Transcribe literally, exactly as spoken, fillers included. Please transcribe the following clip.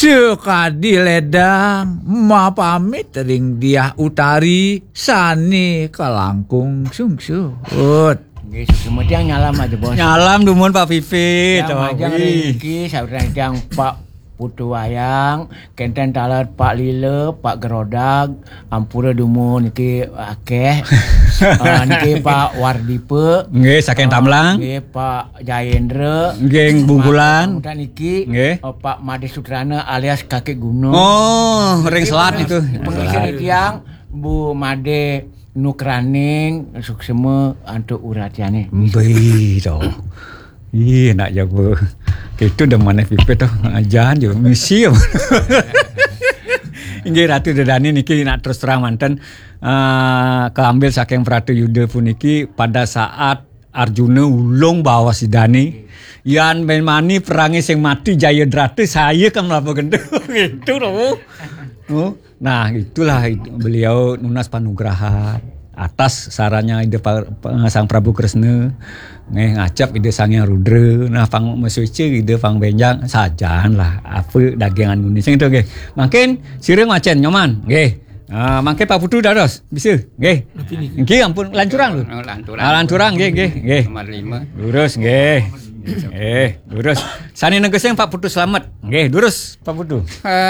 Sakadi ledang mapamit ring Diah Utari sane kalangkung sungsut. Nggih, suksma tiang nyalam aja, Bos. Nyalam dumun Pak Pipit. Tiang majeng ring niki, saudara tiang Pak Putu Wayang, kenten taler Pak Lila, Pak Gerodag, ampura dumun niki akeh. Ah, niki Pak Wardipa. Nggih, saking Ah, Tamlang. Nggih, Pak Jayendra. Nggih, Bungkulan. Kemudian niki, Nggih. Eh, Pak Made Sutrana alias Kakek Gunung. Oh, ring Selat itu. Pengisi tiang Bu Made Nukraning suksma antuk uratyane. Mbih to. Ih, nak jago. Itu dah mana Pipit to. Ajan je misi. Inggih Ratu Dedani niki nak terus terang manten. Ah, keambil saking Pratu Yuda puniki pada saat Arjuna ulung baos Idane, "Yan ben mani perange sing mati Jayadrata, saya kan melapa gendut." Gitu loh. Oh, nah, itulah itu, beliau nunas panugrahan atas sarannya Ida Pa-, Pa-, Sang Prabu Kresna. Nggih, ngacep Ida Sang Hyang Rudra. Nah, pang mesuci Ida pang benjang sajan lah. Apa dagingan Indonesia itu nggih. Mangkin sira ngwacen Nyoman, nggih. Ah, mangke Pak Putu dados, bisa? Nggih. Nggih, ampun, lanturang lho. Oh, lanturang. Ah, lanturang, nggih, nggih, nggih. Nomor lima. Lurus, nggih. Nggih, lurus. Sane negesing Pak Putu slamet. Nggih, lurus Pak Putu. Eh,